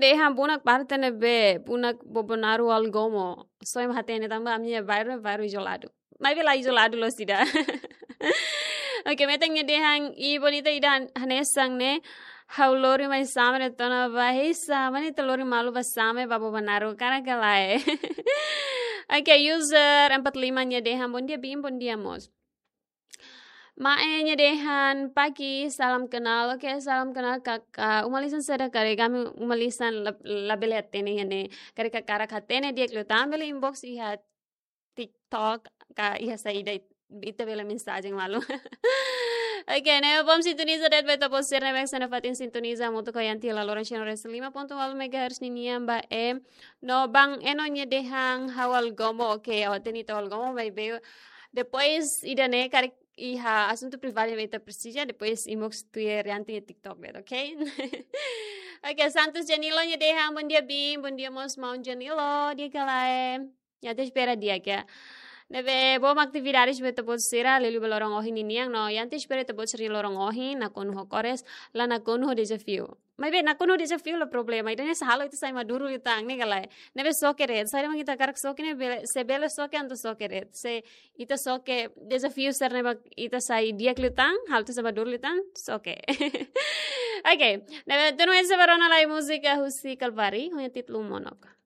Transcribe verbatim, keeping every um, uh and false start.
Dehan bunak parte ne'ebé, bunak Bobonaro Algomo. Só ema hatene tanba ami-nia bairru, bairru izoladu. Maibé la izoladu loos ida. Oke, metan nia dehan, i bonita ida han-, hanesan ne'e, ha'u lori mai Same de'it ona ba, hei Same, ita lori malu ba Same, ba Bobonaro, karik ka lae. Oke, user empat lima nia dehan, bom dia Bim, bom dia mós. Mae nia dehan, pagi, salam kenal. Oke, salam kenal kakak. Uma lisan saida karik, ami uma lisan la, labele hatene iha ne'e. Karik hakarak hatene di'ak liután bele inbox iha TikTok ka iha saida it-, ita bele mensajen malu. Oke, ne'ebé bom sintoniza de'it ba ita-boot sira ne'ebé sei nafatin sintoniza hamutuk ho Yanti iha laloran cento e cinco ponto nol megahertz ninian ba E. No Bang Eno nia dehan ha'u Algomo, oke, ha'u hatene ita Algomo, maibé depois ida-ne'e karik iha asuntu privadu ne'ebé ita presiza, depois inbox tuir Yanti iha TikTok de'it, oke? Oke, Santos Janilo nia dehan, bom dia Bim, bom dia mós maun Janilo, di'ak ka lae. Ita espera di'ak. Ne'ebé bom atividades ba ita-boot sira, liuliu ba loron ohin ninian, no ita espera ita-boot sira-nia loron ohin nakonu ho kores, la nakonu ho dezafiu. Maibé nakonu ho dezafiu la problema, ida-ne'e sei halo ita sai maduru liután, ne'e ka lae. Ne'ebé soke de'it, saida mak ita hakarak soke ne'e bele, se bele soke entaun soke de'it. Se ita soke dezafiu sira ne'ebé ita sai di'ak liután, halo ita sai maduru liután, soke. Oke, ne'ebé tunu ese barona lai múzika husi Kalvari, ho nia títulu Monok.